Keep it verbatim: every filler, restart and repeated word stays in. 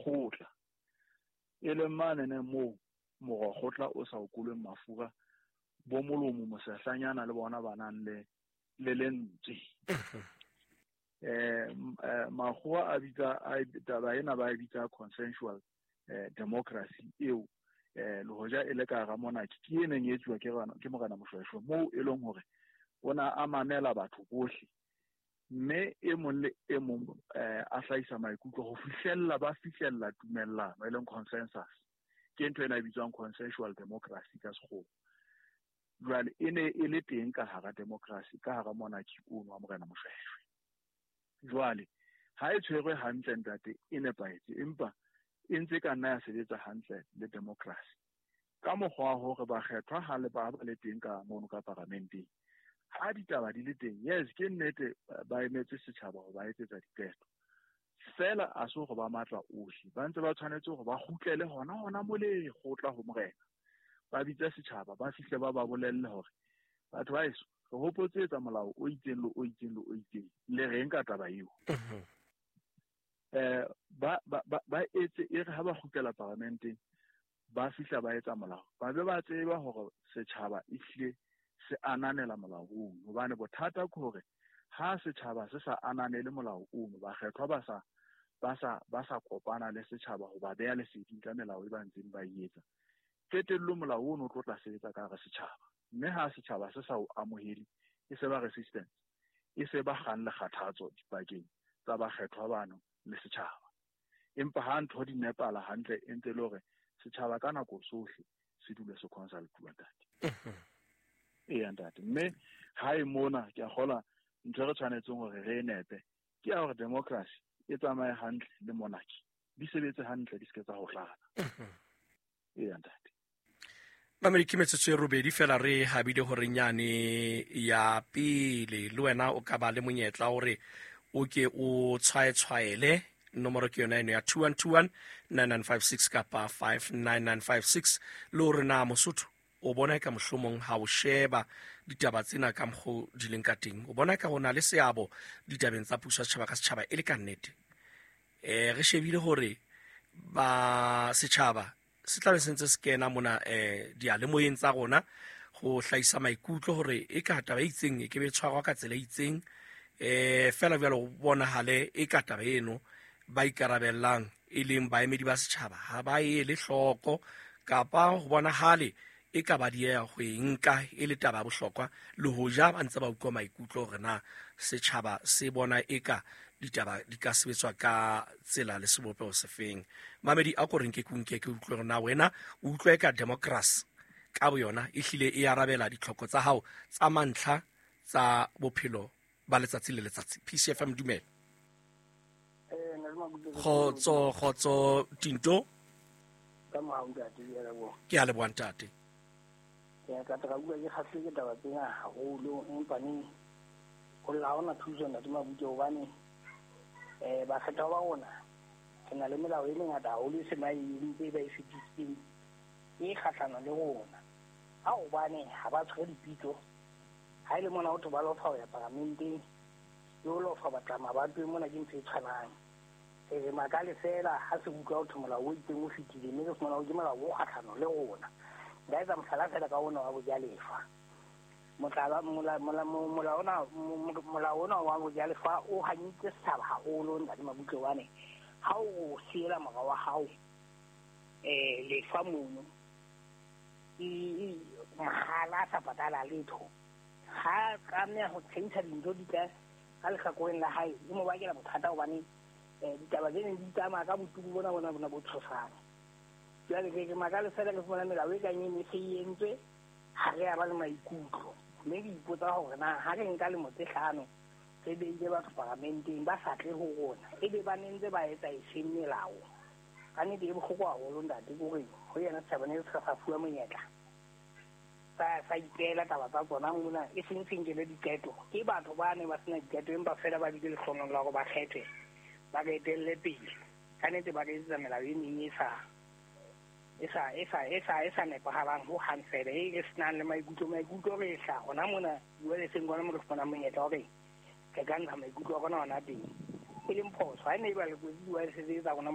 kgotla, e leng manene moo morokgotla o sa okolweng mafura, bo molomo mosehlanyana le bona ba nang le le lentswe. Eh makgowa a bitsa taba ena ba e bitsa consensual eh democracy eo eh le hoja e le ka hara monarchy ke e neng e etsuwa ke ke Morena Moshoeshoe, moo e leng hore o na a mamela batho bohle mme e mong le e mong eh a hlahisa maikutlo ho fihlella ba fihlella tumellano e leng consensus. Ke ntho ena e bitswang consensual democracy ka sekgowa. Jwale e ne e le teng ka hara democracy, ka hara monarchy ono wa Morena Moshoeshoe. Jwale ha e tshwerwe hantle ntate, e nepahetse, empa e ntse ka nna ya sebetsa hantle le democracy ka mokgwa wa hore bakgethwa ha le ba ba le teng ka mono ka paramenteng, ha ditaba di le teng, yes ke nnete ba emetse setjhaba ho ba etsetsa diqeto, fela a se hore ba matla ohle, ba ntse ba tshwanetse hore ba kgutlele hona hona mole kgotla ho morena, ba bitse setjhaba, ba fihle ba ba bolelle hore batho ba heso re hopotse etsa molao o itseng le o itseng le o itseng, le reng ka taba eo. Eh ba ba ba etse e re ha ba kgutlela paramenteng ba fihla ba etsa molao, ba be ba tseba hore setjhaba ehlile se ananela molao ono, hobane bothata ke hore ha setjhaba se sa ananele molao ono, bakgethwa ba sa ba sa ba sa kopana le setjhaba ho ba beha leseding ka melao e ba ntseng ba e etsa, qetellong molao ono o tlo tla sebetsa ka hara setjhaba, mme ha setjhaba se sa o amohele e se ba resistance, e se ba kgang le kgathatso dipakeng tsa bakgethwa bano le setjhaba. Empa ha ntho di nepala hantle e ntse le hore setjhaba ka nako sohle se dule se consultuwa ntate. Eya ntate, mme ha e mona ke a kgola ntho e re tshwanetseng hore re e nepe ke ya hore democracy e tsamaye hantle le monarchy di sebetse hantle, di se ke tsa hohlana. Eya ntate. Mamedi, ke metsotso e robedi fela re habile hore nyane ya pele le wena o ka ba le monyetla hore o ke o tshwaetshwaele. Nomoro ke yona eno ya two one two one nine nine five six kapa five nine nine five six. Le hore na Mosotho o bona ka mohlomong ha o sheba ditaba tsena ka mokgo di leng ka teng, o bona ka ho na le seabo ditabeng tsa puso ya setjhaba ka setjhaba e le ka nnete. Eh re shebile hore ba setjhaba se tla be se ntse se kena mona eh diyalemoyeng tsa rona ho hlahisa maikutlo hore e ka taba e itseng e ke be tshwarwa ka tsela e itseng, eh fela jwalo ho bonahale e ka taba eno ba ikarabellang e leng baemedi ba setjhaba ha ba e le hloko, kapa ho bonahale e ka ba dieha ho e nka e le taba ya bohlokwa, le hoja ba ntse ba utlwa maikutlo hore na setjhaba se bona eka ditaba di ka sebetswa ka tsela le sebopeho sefeng. Mamedi, a ko re nke ke nke ke utlwe hore na wena o utlwa eka democracy ka boyona e hlile e arabela ditlhoko tsa hao tsa mantlha tsa bophelo ba letsatsi le letsatsi. P C F M, dumela. Kgotso, kgotso Tinto. Ke a leboha ntate. Ke ka tla bua ke kgahlwe ke taba tsena haholo, empa neng ho lla hona thuso ntate Mabutle, hobane eh bakgethwa ba rona re na le melao e mengata haholo e se ba e entse ba e fetisitseng e kgahlano le rona. Ha hobane ha ba tshwere dipitso, ha e le mona ho thwe ba lofa ho ya paramenteng, le ho lofa batla mabatoweng mona ke ntho e tshwanang. Re makale fela ha se utlwa ho thwe molao o itseng o fetile, mme re fumana hore ke molao o kgahlano le rona. Nka etsa mohlala fela ka ona wa bojalefa. Mohlala mola mola mola ona molao ona wa bojalefa o hanyitse setjhaba haholo ntate Mabutle, hobane ha o siela mora wa hao eh lefa mono e mahala a sa patala letho, ha tlameha ho tjhentjha dintho di ka ka lehlakoreng la hae, e mo bakela bothata hobane ditaba tse neng di tsamaya ka botuku bona bona bona bo tshosang. Jwale ke ke makale fela ke fumana melao e kang e ne se e entswe, ha re a ba le maikutlo, mme ke ipotsa hore na ha re nka lemo tse hlano re beile batho paramenteng ba sa tle ho rona, ebe ba ne ntse ba etsa efeng melao? Ka nnete e bohloko haholo ntate, ke hore ho yena setjhaba ne se sa fuwa monyetla sa sa ipeela taba tsa tsona mona, e seng se nkele diqeto ke batho ba ne ba sena diqeto, empa fela ba bile lehlohonolo la hore ba kgethwe ba re etelle pele. Ka nnete ba re etsetsa melao e meng e sa e sa e sa e sa e sa nepahalang ho hang fela, e re senang le maikutlo. Maikutlo re hla hona mona diweleseng kwana mo re fumanang monyetla hore re ka ntsha maikutlo a rona hona teng, e leng phoso. Ha e ne e ba le kwetse diwelese tse tsa rona